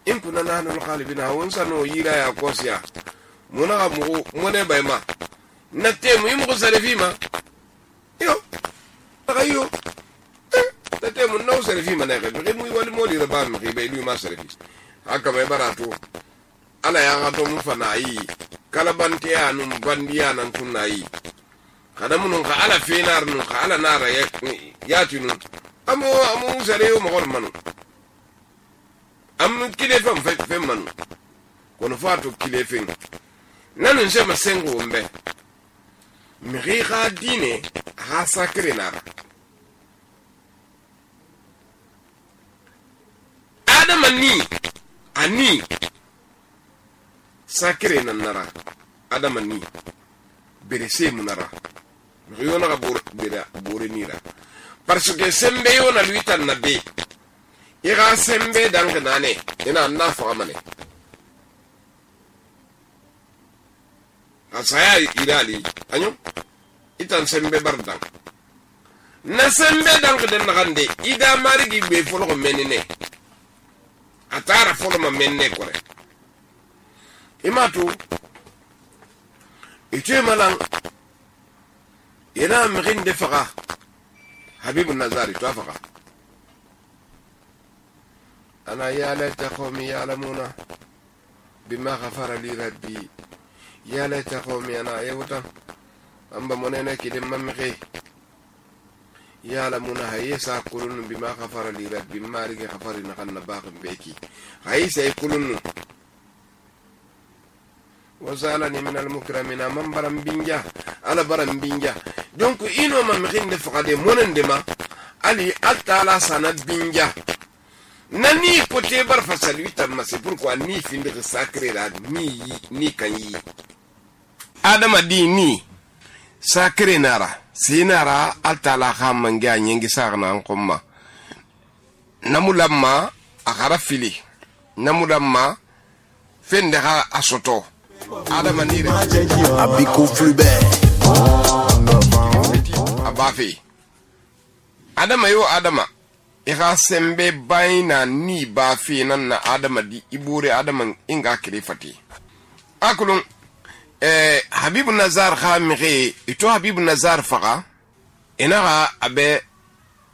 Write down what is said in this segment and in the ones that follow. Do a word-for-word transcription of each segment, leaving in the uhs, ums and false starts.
in kuna nahnu al-ghalibina won sano yira ya kosiya muna ga mu mune bai ma na temu yi mu sarafi ma yo ayo na temu no sarafi ma na ga bi mu wali moli da ba mu bai lu ma sarafi haka mai barato ala ya ga to mu fana yi kalabante ya nun bandiya nan tunna yi kada mun ka ala fenar nun ka ala nara ya ya tunu amu amu sare yo mo manu am kile fam fe fe manu kono fato kile fen nanun se masengo mbe mi ga dine ha sakre nara adama ni ani sakre nan nara adama ni bere se munara mi yo na bor bere bore nira parce que sembe yo na lui tan na be ira sembe dang nane ina na famane asaya irali anyo itan sembe bardan na sembe dang den gande ida marigi be folo ko menene atara folo ma menne kore imatu ite malan ina mrin de faga حبيب النزاري توافق أنا يا ليت قومي يعلمون بما غفر لي ربي يا ليت قومي أنا يوتا أم بمنينة كده ممغي يعلمون هيسا يقولون بما غفر لي ربي ما رجع غفر نغنى باق بيكي هيسا يقولون وزالني من المكرمين من برم بنجا على برم بنجا donc ino ma mrin de fagade monen de ma ali altala sanad binja nani pote bar fasali tam c'est pourquoi ni fin de sacré la ni ni kanyi adama di ni sacré nara sinara altala khamanga nyengi sarna an komma namulamma akhara fili namulamma fende ha asoto adama ni abiko flubert abafi adama yo adama ira sembe baina ni bafi nan na adama di ibure adama inga kilifati akulun eh habibu nazar khamire ito habibu nazar faga inaga abe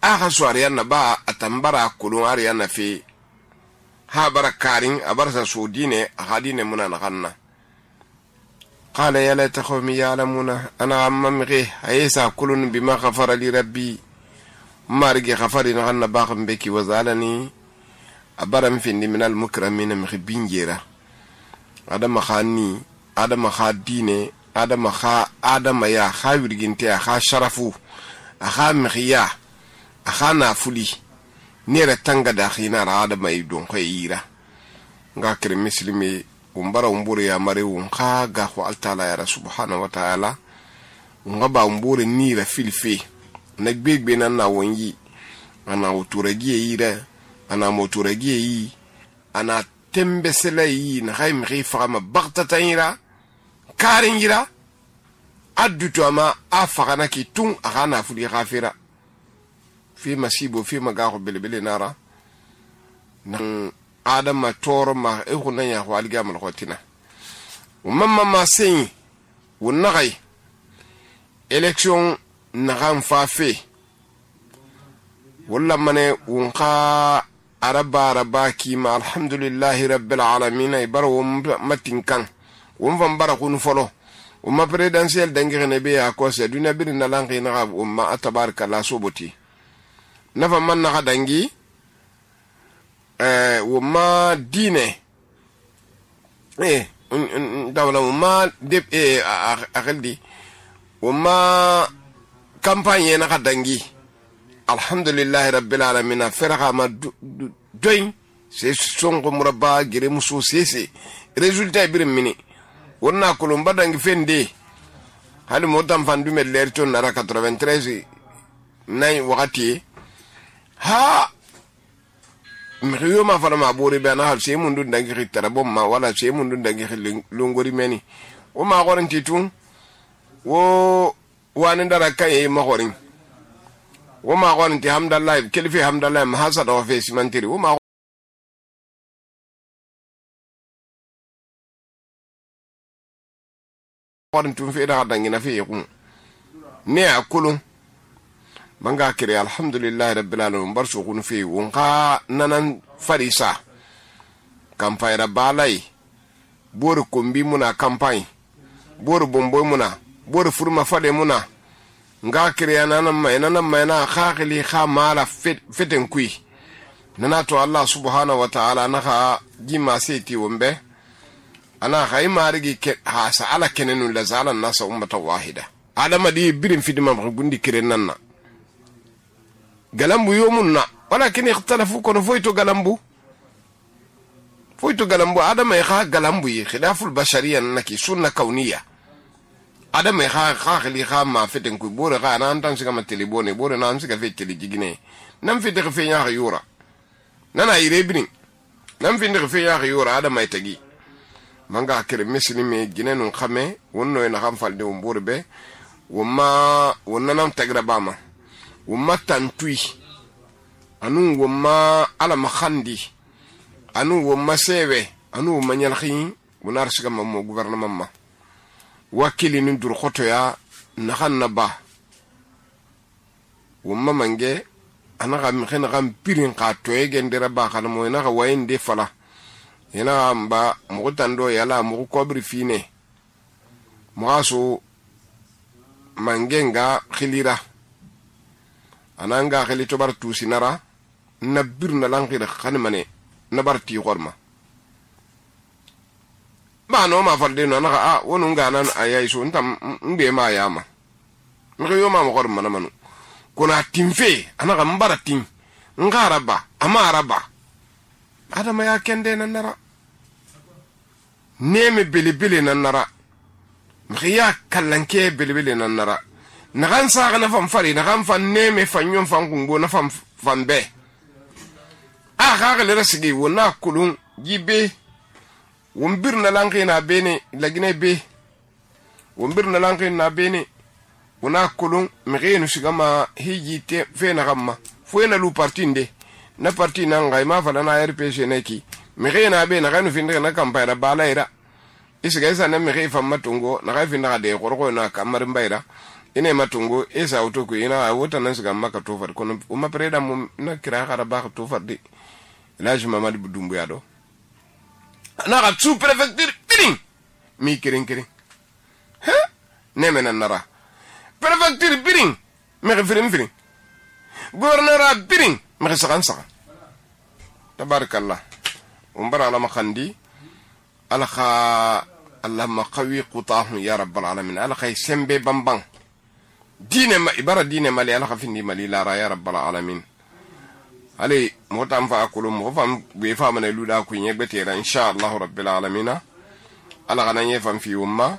aga swariya na ba atambara kulun ariya na fi ha barakarin abarsa sudine hadine munana kanna قال يا ليت قومي يعلمون أنا عممغي هيسا كل بما غفر لي ربي ما رجع غفر نغنى باقم بكي وزالني أبرم فيني من المكرمين مخبين جيرا آدم خاني آدم خا ديني آدم خا آدم يا خا ورجنتي خا شرفو خا مخيا خا نافولي نيرة تنغا داخينا آدم يدون خيرا غاكر مسلمي umbara umbure ya mare unka ga ko altala ya subhanahu wa ta'ala ngaba umbure ni la filfi na gbegbe na na wonyi ana oturagi yira ana moturagi yi ana tembesela yi na hay mi fama bagtatan yira karin yira adduto ama afagana ki tun agana fuli ghafira fi masibo fi magaho belbele nara na adama toro ma e hunna ya walga mal khotina umma ma sin wonagay election nagam fa fe wala mane wonqa araba araba ki ma alhamdulillahi rabbil alamin ay baro matin kan won van bara kun folo umma presidentiel dangire ne be ya ko se duna bir na langi na umma atabaraka la soboti nafa man na dangi eh woma dine eh dawla woma de eh akaldi woma campagne na kadangi alhamdulillah rabbil alamin faraha ma doin c'est songo muraba gere muso sese résultat birim mini wonna kolomba dangi fende hali motam fandu med lerton nara quatre-vingt-treize nay wakati ha mriyo ma fara ma bore be na hal se mundu dangi ritara bomma wala se mundu dangi longori meni o ma goran titun wo wani dara kay ma gorin wo ma goran ti hamdallah kelifi hamdallah ma hasada wa fe simantiri wo ma warin tun fe da dangina fe yakun ne a kulun banga kire alhamdulillah rabbil alamin bar su kun fe won ka nanan farisa campagne da balai bor kombi muna campagne bor bomboy muna bor furma fade muna nga kire nanan mai nanan mai na khakili kha mala feten kui nana to Allah subhanahu wa ta'ala na ha jima seti wombe ana hay marigi ke ha sa ala kenenu la zalan nasa ummata wahida adama di birin fidima gundi kire nanna galambu yomunna walakin ikhtalafu kono foyto galambu foyto galambu adama ya kha galambu yi khilaful bashariya naki sunna kauniya adama ya kha kha khili kha ma feten ku bore kha nan tan siga mateli bone bore nan siga fe teli jigine nam fete fe nya yura nana ire birin nam finde fe nya yura adama itagi manga kire muslimi ginenu khame wonno na xam falde o borbe woma wonna nam tagra bama woma tantui anu woma ala makhandi anu woma sewe anu woma nyalkhin wonar siga mammo gouvernement ma wakili nun dur khoto ya nakhanna ba woma mange anaka mkhena gam pirin ka toyege ndera ba kana mo na ka wayinde fala ina amba mo tando yala mo kobri fine mo aso mangenga khilira ananga khili to bar tusinara nabir na lankhira khanmane nabarti gorma ba no ma falde no naka a wonu ngana ayay so ntam mbe ma yama mko yo ma mo gorma na manu kuna timfe anaka mbara tim ngaraba amaraba adama ya kende nanara neme bilibili nanara mkhiya kallanke bilibili nanara nagan saga na fam fari nagan fan neme fanyon fan kungo na fam fambe a khaga le rasigi wona kulun jibe wombir na lanki na bene lagine be wombir na lanki na bene wona kulun mkhiyenu sigama hijite fe na gamma fo na lu partinde na parti na ngai ma fala na R P C neki mkhiyena be na kanu finde na kampara balaira isiga isa na mkhiy fam matungo na ga finde de gorgo na kamar mbaira ine matungo isa autoku ina wota nan siga maka to far kono uma preda mu na kira khara ba to far di laji mamadi budumbu yado na ga sous prefecture biring mi kirin kirin ha nemena nara prefecture biring me firin firin gouverneur biring me sakan sakan tabarakallah umbara ala makhandi ala kha allahumma qawi qutahu ya rabbal alamin ala khay sembe bambang dine ma ibara dine mali ala khafindi mali la ra ya rabbal alamin ali motam fa akulu mo fam be fama ne luda ku nyebete ra inshallah rabbil alamin ala gana nye fam fi umma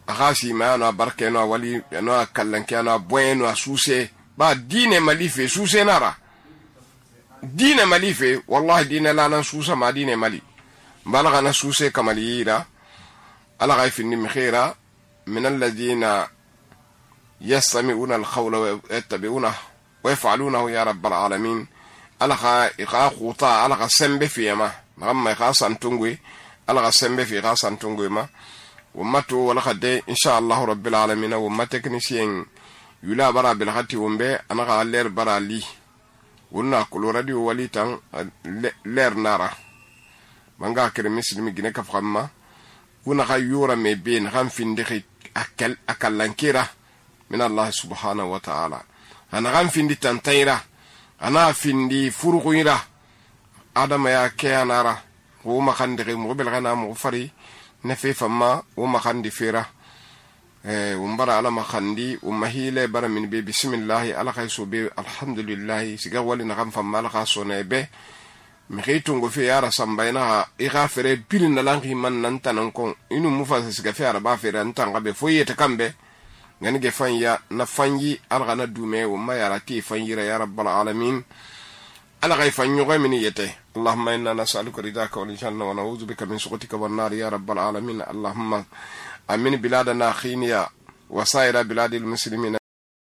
akhasi ma na barke no wali no kallanke no bueno suse ba dine mali fe suse nara dine mali fe wallahi dine la nan susa ma dine mali balaga na suse kamalira ala ghaifin mkhira min alladhina yastami'una al-qawla wa yattabi'una wa yaf'alunahu ya rabbal alamin ala kha iqa khuta ala kha sembe fi ma ngamma kha santungwe ala kha sembe fi kha santungwe ma ummatu wala khade inshallah rabbil alamin wa umma technicien yula bara bil khati wumbe ana kha ler bara li wonna ko radio walitan ler nara manga kere muslimi gine ka famma wona kha yura me ben kham finde akal akalankira min Allah subhanahu wa ta'ala ana kham finde tantaira ana findi furuqira adama ya keanara wo ma khande mo bel gana mo fari nafi famma wo ma khandi fira eh umbara ala ma khandi umahile bara min bi bismillah ala khaysu bi alhamdulillah siga wali na kham famma ala khasone be mi khaytungo fi yara sambayna ighafere bilin na langi man nan tanan kon inu mufasa siga fi yara ba fere ntanga be foyete kambe ngani ge fanya na fanyi algana dume wo ma yara ti fanyira ya rabbal alamin ala gay fanyu gay min yete allahumma inna nas'aluka ridaka wal janna wa na'udhu bika min sukhatika wan nar ya rabbal alamin allahumma amin biladana khiniya wa sa'ira biladil muslimin